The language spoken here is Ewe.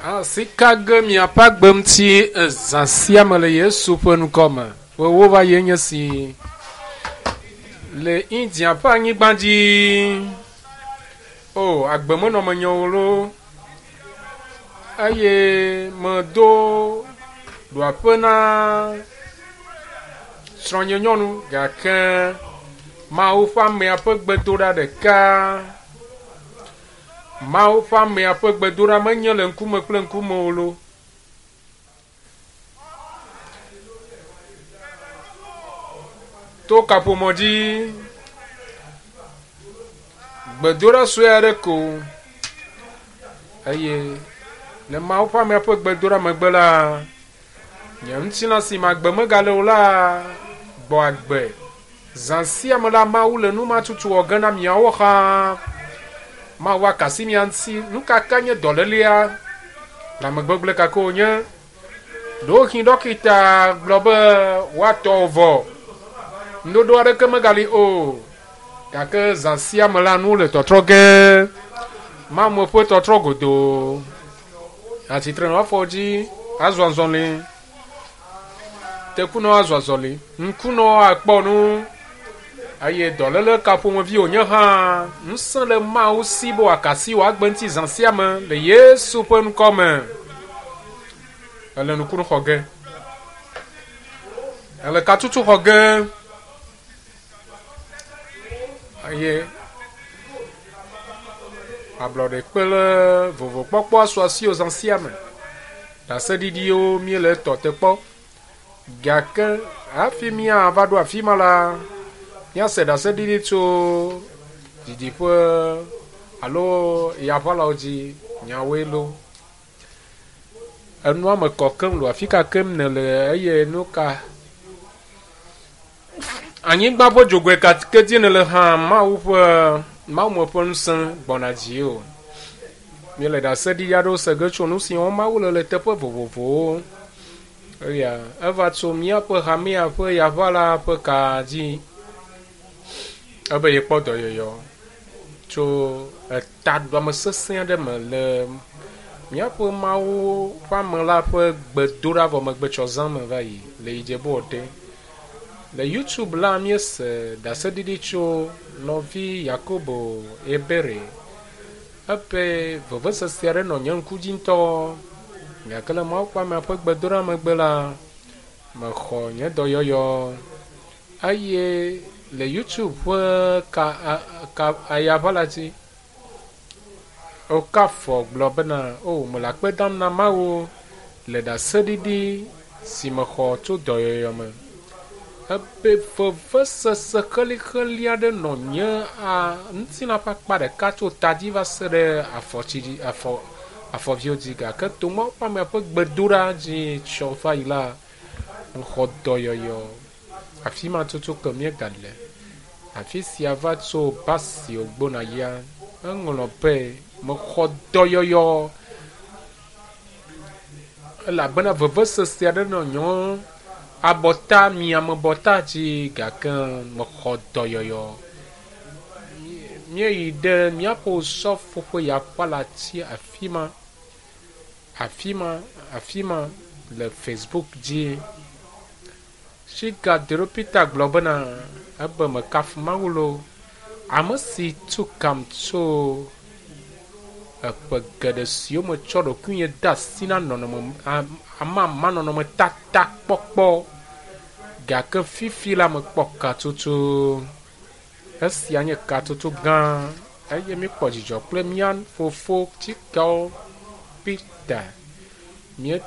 Asi ka ge miaƒe agbe ŋuti ezã sia me le Yesu ƒe ŋkɔ me. Ƒewo va yi enye si le India ƒe anyigba dzi. O, agbe menɔ menye o loo eye medo ɖoaƒe na srɔ̃nye nyɔnu gake Mawu ƒe amea ƒe gbedoɖa ɖeka Mawu ƒe amea ƒe gbedoɖa menye le ŋkume kple ŋkume o loo. To kaƒomɔ dzi gbedoɖa sue aɖe ko eye le Mawu ƒe amea ƒe gbedoɖa megbe la, nye ŋutilã si me agbe megale o la gbɔ agbe. Zã sia me la, Mawu le nu ma tutu wɔ ge na miawo hã. Mawu aka asi mia ŋuti. Nu ka ke nye dɔlélea? Lãmegbegblẽ ka ke wònye? Ɖewohĩ ɖɔkita gblɔ be woatɔ wò vɔ. Ŋuɖoɖo aɖeke megali o. Gake zã sia me la, nuwo le tɔtrɔ ge. Mawu ƒe tɔtrɔ godoo. Atsitre nɔ afɔ dzi, azɔ azɔli. Tekunɔ azɔ azɔli, ŋkunɔ akpɔ nu eye dɔléle ka ƒomevi wònye hã, ŋusẽ le Mawu si be wòaka asi wò agbe ŋuti zã sia me le Yesu ƒe ŋkɔ me. Ele nukunu xɔ ge. Ele katutu xɔ ge. Eye ablɔɖe kple vovokpɔkpɔ asu asiwò zã sia me. Ɖaseɖiɖiwo míele etɔ te kpɔ. Gake hafi míava ɖo afi ma la, míase ɖaseɖiɖi tso didiƒe alo yaʋalawo dzi nyawoe lo. Enua me kɔ keŋ lo afi ka kem nèle eye nu ka anyigba ƒe dzogoe ka ke dzi nèle hã Mawu ƒe Mawume ƒe ŋusẽ gbɔna dzi o. Míele ɖaseɖiɖi aɖewo se ge tso nu si wɔm Mawu le le teƒe vovovowo. Eya eva tso míaƒe hamea ƒe yaʋala ƒe ka dzi ebe yekpɔ dɔyɔyɔ tso etaɖuame sesẽ aɖe me le míaƒe Mawu ƒe ame la ƒe gbedoɖa vɔ megbe tsɔ zã me va yi le Ijebu-Ode. Le YouTube la míese ɖaseɖiɖi tso nɔvi Yakobo Ebere Eƒe vevesese aɖe nɔ nye ŋku dzi ŋutɔ. Gake le Mawu ƒe amea ƒe gbedoɖa megbe la, mexɔ nye dɔyɔyɔ. Eye le YouTube ƒe ka, ka ayaʋala dzi, Okafɔ gblɔ bena, O, mele akpe dam na Mawu le ɖaseɖiɖi si mexɔ tso dɔyɔyɔ me. Ebe vevesese xelixeli aɖe nɔ nye a ŋutilã ƒe akpa ɖeka tso ta dzi va se ɖe afɔtsi dzi, afɔ, afɔviwo dzi gake to Mawu ƒe amea ƒe gbedoɖa dzi tsɔ va yi la, mexɔ dɔyɔyɔ. Afi ma tutu ke míegale. Afi sia va tso Basio gbɔna yia, eŋlɔ be, Mexɔ dɔyɔyɔ elabena vevesese aɖe nɔ nye abɔta, miamebɔta dzi gake mexɔ dɔyɔyɔ. Míeyi ɖe míaƒe osɔfo ƒe yaƒalati afi ma, afi ma, afi ma le Facebook dzi. Shiga Dero Peter gblɔ bena, ebe mekafu Mawu loo, ame si tu kam tso eƒe geɖe siwo metsɔ ɖokuinye de asi na nɔnɔme amamanɔnɔmetata kpɔkpɔ gake fifi la mekpɔ katutu. Esia nye katutu gã eye míekpɔ dzidzɔ kple mía fofo Chikao Peter. Mía.